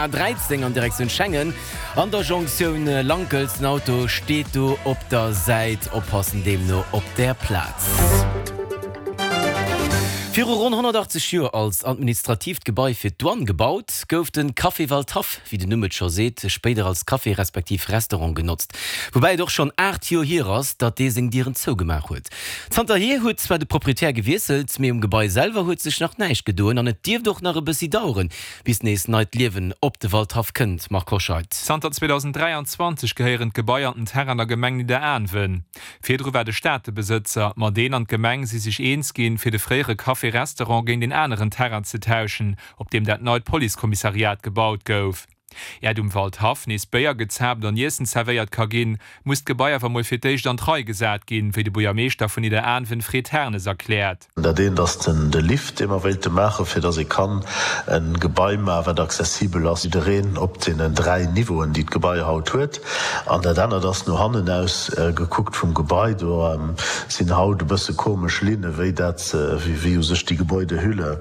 A13 an Direktioun Schengen an der Jonktioun Lankels. Den Auto steet do op der Säit, oppassen deemno op där Plaz. Viru ronn 180 Joer als administratiivt Gebai fir d'Douane gebaut, gouf de Café Waldhaff, wéi den Numm et scho seet, spéider als Café respektiv Restaurant genotzt. Woubäi et och schonn 8 Joer hier ass, datt dee seng Dieren zougemaach huet. Zanterhier huet zwar de Proprietär gewiesselt, mee um Gebai selwer huet sech nach näischt gedoen an et dierft och nach e bëssi daueren, bis nees neit Liewen op de Waldhaff kënnt. Marc Hoscheid. Zanter 2023 gehéieren d'Gebai an den Terrain der Gemeng Nidderaanwen. Virdru war de Staat de Besëtzer, ma deen an d'Gemeng si sech eens ginn, fir de fréiere Café-Restaurant géint een aneren Terrain ze tauschen, op deem dat neit Policekommissariat gebaut gouf. Äert um Waldhaff nees Béier gezaapt an Iessen zerwéiert ka ginn, muss d'Gebai awer mol fir d'éischt an d'Rei gesat ginn, wéi de Buergermeeschter vun Nidderaanwen Fred Hernes erkläert. Dat eent ass den de Lift, dee mer wéilte maachen, fir dass ee kann e Gebai maachen, wat accessibel ass jiddereen op deenen 3 Niveauen, déi d'Gebai haut huet. An dat anert ass no hannen aus gekuckt vum Gebai. Do sinn haut e bësse komesch Linne wéi dat, wéi u sech déi Gebäudehülle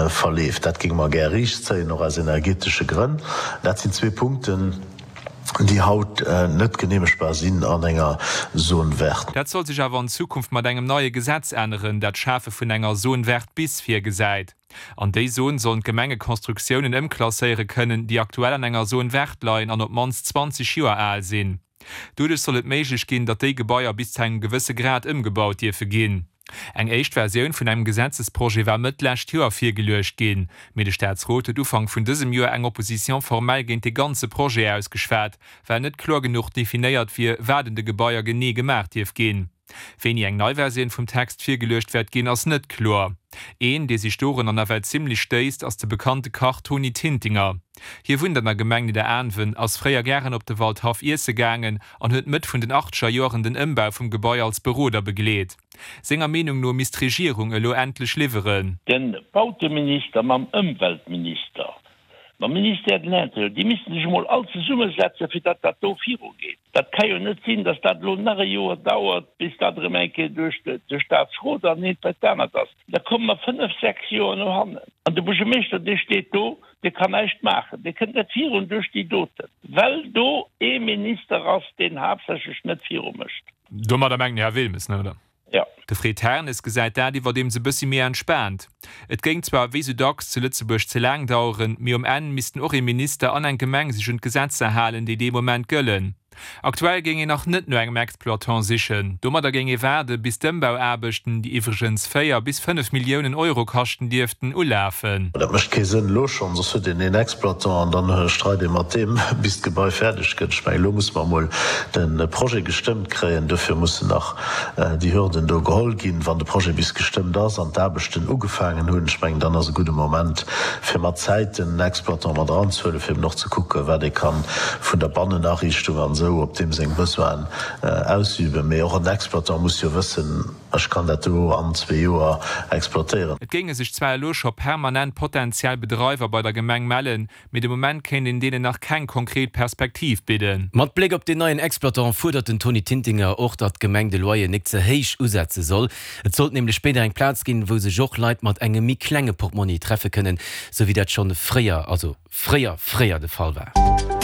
verleeft. Dat géinge mer gär riichtzéien, och aus energetesche Grënn. Dat sinn zwee Punkten, déi haut net geneemegbar sinn an enger Zone verte. Dat soll sech awer an Zukunft mat engem neie Gesetz änneren, dat d'Schafe vun enger Zone verte bis virgesäit. An déi Zone sollen d'Gemenge Constructiounen ëmklasséiere kënnen, déi aktuell an enger Zone verte leien an op d'mannst 20 Joer al sinn. Doduerch soll et méiglech ginn, datt déi Gebaier bis zu engem gewësse Grad ëmgebaut dierfe ginn. Eng éischt Versioun vun engem Gesetzesprojet war Mëtt d'lescht Joer virgeluecht ginn, mee de Staatsrot huet Ufank vun dësem Joer eng Opposition formelle géint de ganze Projet ausgeschwat, well net kloer genuch definéiert wier, wat un de Gebaier genee gemaach dierf ginn. Wéini eng nei Versioun vum Text virgeluecht wäert ginn, ass net kloer. Een, dee sech dorunner nawell zimmlech stéisst, ass de bekannte Kach Toni Tintinger. Hie wunnt an der Gemeng Nidderaanwen, ass fréier gären op de Waldhaff iesse gaangen an huet Mëtt vun den achtzeger Joeren den Ëmbau vum Gebai als Beroder begleet. Senger Meenung no misst d'Regierung elo endlech liwweren. De Bauteminister mam Ëmweltminister, mam Ministère de l'Intérieur, déi missten sech emol all zesummesetzen, fir datt dat do virugeet. Dat ka jo net sinn, datt dat elo nach e Joer dauert, bis dat erëm eng Kéier duerch de Staatsrot an eent bei d'anert ass. Da komme mer fënnef, sechs Joer no hannen. An de Buergermeeschter, dee steet do, dee kann näischt maachen, dee kënnt net virun duerch déi doten, well do ee Minister ass, deen haaptsächlech net virumécht. Domadder mengt den Här Wilmes, ne, oder? Jo. De Fred Hernes gesäit dat iwwerdeems e bëssi méi entspaant. Et géing zwar wéi sou dacks zu Lëtzebuerg ze laang daueren, mee um Enn missten och ee Minister an eng Gemeng sech un d'Gesetzer halen, déi dee Moment gëllen. Aktuell géing een nach net no engem Exploitant sichen. Domadder géing ee waarde bis d'Ëmbauaarbechten, déi iwwregens 4 bis 5 Milliounen Euro kaschten dierften, ulafen. Dat mécht kee Sënn elo schonn, soss huet een een Exploitant an dann streit ee mat deem, bis d'Gebai fäerdeg gëtt. Ech mengen, elo musse mer emol de Projet gestëmmt kréien. Dofir mussen nach déi Hürden do geholl ginn. Wann de Projet bis gestëmmt ass an d'Aarbechten ugefaangen hunn, ech mengen, dann ass e gudde Moment, fir mat Zäiten en Exploitant mat eranzehuelen, fir eben och ze kucken, wat ee ka vun der Bannenariichtung an esou op deem seng Besoinen ausüben. Mee och en Exploitant muss jo wëssen, Ech kann dat do an zwee Joer exploitéieren. Et géinge sech zwar elo scho permanent potentiell Bedreiwer bei der Gemeng mellen, mee de Moment kéint een deenen nach keng konkret Perspektiv bidden. Mat Bléck op deen neien Exploitant fuerdert den Tony Tintinger och, datt d'Gemeng de Loyer nik ze héich usetze soll. Et sollt nämlech spéider eng Plaz ginn, wou sech och Leit mat engem méi klenge Portmonni treffe kënnen, sou wéi dat schonn fréier, also fréier, fréier de Fall war.